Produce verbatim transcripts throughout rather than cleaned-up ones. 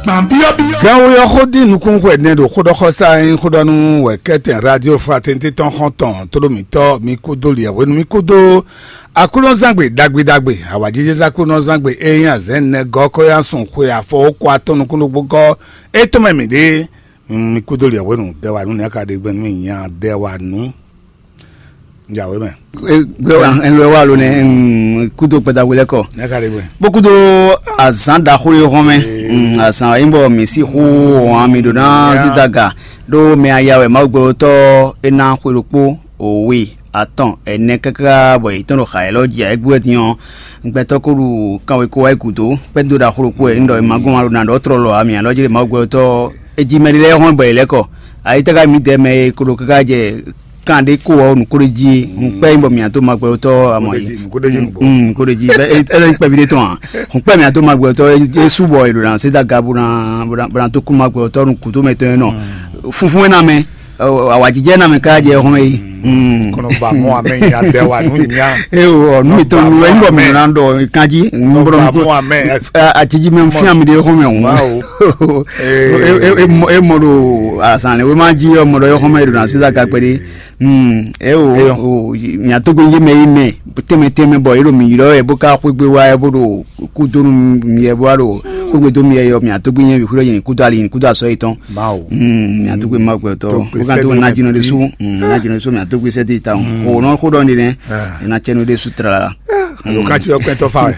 Gbǎn byɔ́byɔ́. Gánwé ɔ́ xó dín nukúnnú hwɛ nɛ́ ɖo xóɖɔxɔsá e nyí xóɖɔnú wɛ kɛ́tɛn Radio Fraternité tɔn xɔ́ntɔn tóɖó mǐtɔn mi kúdó liɛ̌hwenu mi kúdó Aklúnɔzángbe ɖagbe ɖagbe awǎjijɛzán Aklúnɔzángbe e nyí azɛ̌n nɛgɔ́ kɔ́yásun xwe afɔ okó atɔn nukúnnú gɔ́ é tɔn mɛ mǐ ɖe. Mi kúdó liɛ̌hwenu dɛwanu nɛ́ ka ɖe gbɛn nú mì nya dɛwanu. Jǎwe mɛ. Gbé wa ɛ lɔ wa lo nɛ kúdó kpɛdagbe lɛ kɔ. Nɛ́ ka ɖe gbɛn. Bó kúdó azǎn ɖaxó e hɔn mɛ. Azǎn e nyí bɔ mǐ sixú hɔn mi ɖo ná zídaga ɖó mɛ aya wɛ Mawu gbɛtɔ́ e ná xwe ɖokpó òwe atɔn ɛnɛ káká bɔ yě tɔn ɖo xa élɔ́ jí ayɛ́gbɛ́ din ɔ́. Gbɛtɔ́ ko ɖu kanwekó wá yi gǔdo kpɛ́dó ɖaxó ɖokpó wɛ un ɖɔ è ma gɔ́n ma ɖo nǎ ɖɔ trɔ lɔ ǎ mǐ alɔ jí ɖe Mawu gbɛtɔ́. Eji mɛ ɖé lɛ́ɛ hɔn bɔ yě lɛ́ kɔ. Ayítáká mi dɛ mɛ e ko ɖo káká jɛ kan ɖé ko ɔ́ nǔkó ɖé jí. Un kpɛ́ nyí bɔ mǐ ató ma gbɛtɔ́ amɔ yi. Nǔkó ɖé jí nǔgbó. Nǔkó ɖé jí bɛ ɛ ɛ kpɛví ɖé tɔn ǎ. Un kpɛ́ mǐ ató ma gbɛtɔ́ é sú bɔ è ɖo ná sé dá ga bó ná bó ná tó kú ma gbɛtɔ́ nú gǔdo mɛ tɔn e nɔ. Funfun é ná mɛ. Awǎjijɛ ná mɛ ká jɛ xɔmɛ yi. Kɔnɔ ba mɔ amɛ nya dɛ wa nú nya. Ewɔ nu mitɔn nu wɛ nbɔ mi na ɖɔ kanji nbɔ ba mɔ amɛ. Atiji mɛ fia mi de xɔmɛ o. E mɔ ɖo asan le wema ji ɔmɔ ɖɔ yɔ xɔmɛ yi ɖo na sisan gakpɛ de. Ewɔ miatɔgbe yi mɛ yi mɛ tɛmɛ tɛmɛ bɔ yi ɖo mi yi ɖɔ yɛ bó ká xwegbe wa yɛ bó ɖo kúdónú mi yɛ bó wá ɖo xwegbe dó mi yɛ yɔ miatɔgbe yɛ bi xwedɔ yɛ ni kúdó ali ni kúdó asɔ yi tɔn. Mawu. Miatɔgbe ma gbɛtɔ. Tó gbé Bó kan tó sɛ́dí na yẹn jinɔ de bí. Su. Na jinɔ de su miatɔgbe sɛdi ta o. O nɔ xó ɖɔ ni nɛ. Ena cɛ nu de su trala. Alo kan ti ɔkpɛn tɔ fa wɛ.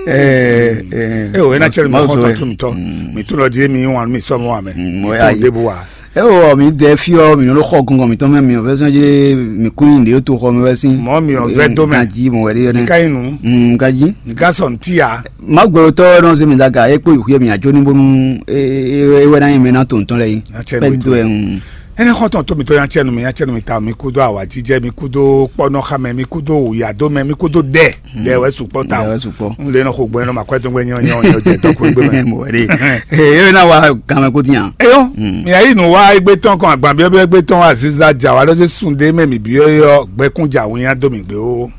Ee o ena cɛ nu mi xɔ tɔn tu mi tɔ. Mi tu lɔ di mi wan mi sɔ mɔ wa mɛ. Mi tɔn debu wa. Ewɔ mi dɛ fiɔ mi nɔ xɔ gɔngɔn mi tɔn mɛ mi fɛ sɔn je mi kún yin de to xɔ mi wɛ sin. Mɔ mi ɔ vɛ do mɛ. Ka ji mɔ wɛ de yɔ nɛ. Ka yin nu. Ka ji. Ni ka sɔn ti ya. Ma gbɛtɔ nɔ se mi da ga e kpo yi xuyɛ mi ajo ni bonu e wɛ na yin mɛ na to ntɔn lɛ yi. Pɛ do ɛ. Ɛnɛ xɔtɔn tó mi tó yan cɛnu mi yan cɛnu mi ta mi kúdó awajijɛ mi kúdó kpɔnɔxamɛ mi kúdó wuyadómɛ mi kúdó dɛ dɛ wɛ sukpɔ ta. Dɛ wɛ sukpɔ. N lè nɔ xo gbɔn nɔ ma kɔɛ tó gbɛ nyɔ nyɔ nyɔ jɛ tɔkù gbɛ mɛ. Mɔ wɛ de. Ee e na wa gamɛ ko tiɲa. Eyɔ mi ayi nu wa egbe tɔn kɔn agban biɔbiɔ egbe tɔn aziza ja wa lɔ se sun de mɛ mi biɔ yɔ gbɛkun ja wunya dó mi gbé o.